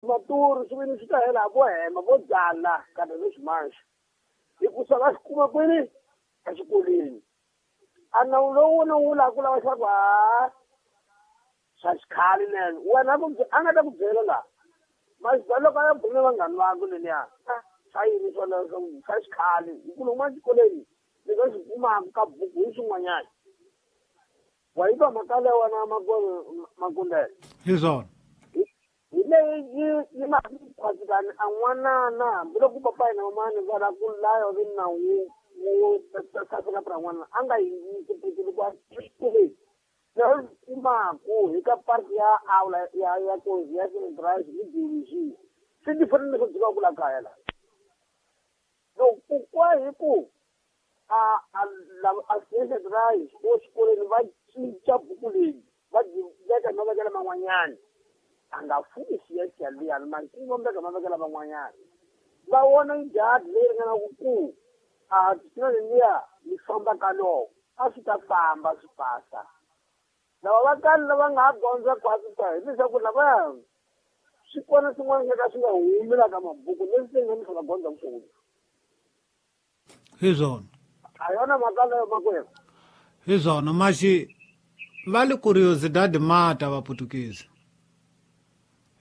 Maturu swi vini swi ta hela vo hema vo byala kambe leswi manxe hikusa va swi kuma kwini exikolweni a nawu lowu wona wu lava ku lava leswaku ha swa xikhale nene wena a nga ta ku byela laha maxibya loko a ya bula na vanghani vakwe leniya swa yini swona swa xikhale hi ku lomu exikolweni ni nga swi kumaka ka buku hi swin'wanyana wa yi twa mhaka leyi wena makundele hi swona hi leyi yi ma khwasikani a n'wanana hambiloko papa hina mamani va lava ku laya vi nawu wu saseka pra n'wana a nga yi loko a xikolweni leswi kumaku hi ka parti ya aula ya kozi ya centrage ni biologie swi different leswi dzikaka ku la kaya la loko kwa hi ku a a centrage o xikolweni va cinca buku leyi va dyi veka hi mavekelo man'wanyana a nga fumi siya liyani mankini va veka mavekelo man'wanyana va vona njhani leyi ringanaka ku a swilo leliya yi famba ka loko a swi ta famba swi pasa lava va kale lava nga ha dyondza kwasi ta hileswaku lavaya swi kona swin'wana swo ka swi nga humi la ka mabuku leswi se nga mi va dyondza swona hi swona a yona mhaka leyo makwerhu hi swona maxi va le curiosidade mata vaputukezi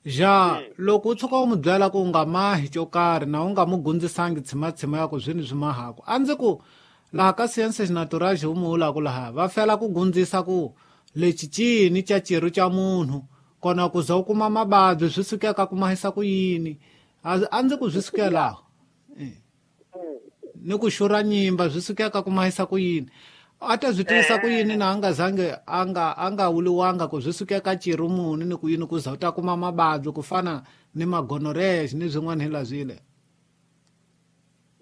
ja loko u tshuka u mu byela ku u nga mahi xo karhi na u nga mu gundzisangi tshimatshima ya ku swini swi mahaku a ndzi ku laha ka sciences naturage u mu vulaku laha va fela ku gundzisa ku lexi cini ca ciru ca munhu kona ku za u kuma mavabyi swi sukeka ku mahisa ku yini a ndzi ku swi sukela laha ni ku xurha nyimba swi sukeka ku mahisa ku yini a ta swi tivisa ku yini na a nga zange a nga wuliwanga ku swi sukeka ciru muni ni ku yini ku za u ta kuma mavabyi ku fana ni magonorrhea ni swin'wana hi la swile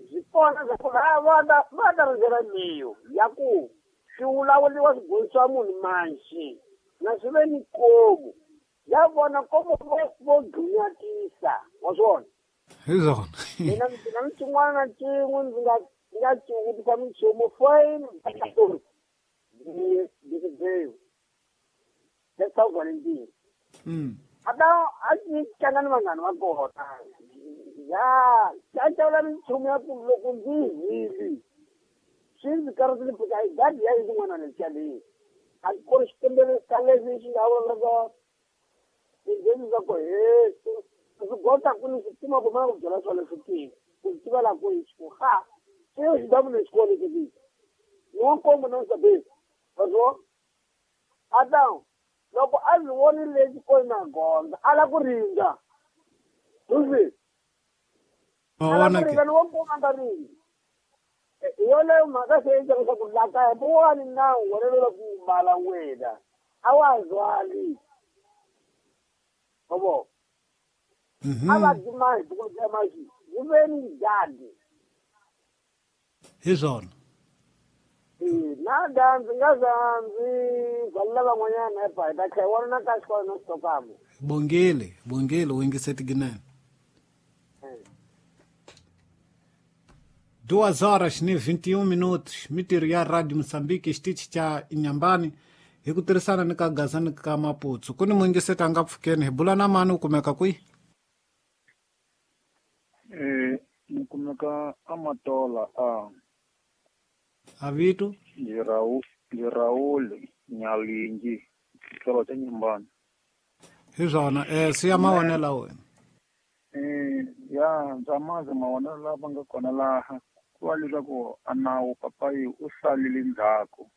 swi kona swa ku va ta rindzela leyo ya ku swi vulavuriwa swi gonisiwa munhu manxi na swi ve ni komu ya vona komu vo ghunyatisa wa swona hi swona mina ni xin'wana na xin'we ndzi nga xivutisa minchumu foyini ndzi a ta a tlanga ni vanghani va kona ya a cavula minchumu ya ku loko ndzi hili swi ndzi karhatile mpfhuka hi gadi ya yin'wana lexiya leyi a ku ri xikombelo ka leswi xi nga vula tindzeni swa ku he swi gota ku ni swi kuma ku mana ku byela swona swi tivi ku swi tivela ku ku ha swi xi damu ni xikolo lexi ni wa nkombo na nsabeni vaswo ata loko a ndzi vonile xikolweni na gondza a la ku rindza uzi a la ku rindza ni wa nkombo a nga rindzi hi yoleyo mhaka se yi leswaku la kaya buwani nawu wena lola ku mbala wena a wa zwali obo a va dyi mahi buku ya maxi yi ve ni gadi hi swona na da ndzi nga za ndzi valela van'wanyana epa hi ta tlhela wona na ka xikolo na xitokamo bongile bongile u yingisetinene 2:21 mitirho ya Radio Mozambique xitichi xa Inhambane hi ku tirhisana ni ka Gaza ni ka Maputo ku ni muyingiseti a nga pfukeni hi bula na mani u kumeka kwihi ni kumeka Amatola a vito ndi Raul Nyalingi xikolo xa Inhambane hi swona siya mavonelo wena ya ndza mazi mavonelo lama nga kona laha ku va leswaku a nawu papayi u salile ndzhaku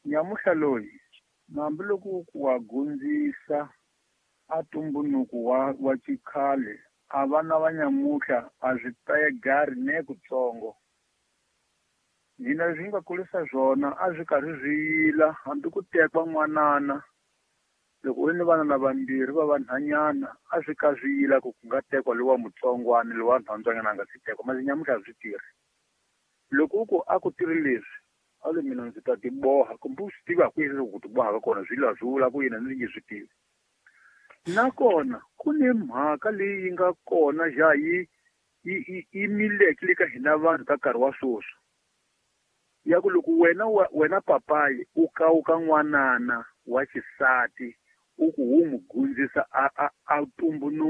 nyamuhla loyi hambiloko ku wa gundzisa a tumbunuku wa xikhale a vana va nyamuhla a swi pegari ne kutsongo hina leswi nga kulisa swona a swi karhi swi yila hambi ku tekwa n'wanana loko u ri ni vana lavambirhi va vanhwanyana a swi ka swi yila ku ku nga tekwa lowa mutsongwana lowa nhwandzwanyana a nga si tekwa masi nyamuhla a swi tirhi loko u ku a ku tirhi leswi a le mina ndzi ta tiboha kumbe u swi tiva ku yini ku tiboha ka kona swi la swi vula ku yini ndzi nge swi tivi nakona ku ni mhaka leyi yi nga kona ja yi mileke le ka hina vanhu ka nkarhi wa sweswi ya ku loko wena papayi u kawuka n'wanana wa xisati u ku wu n'wi gundzisa a tumbunuka.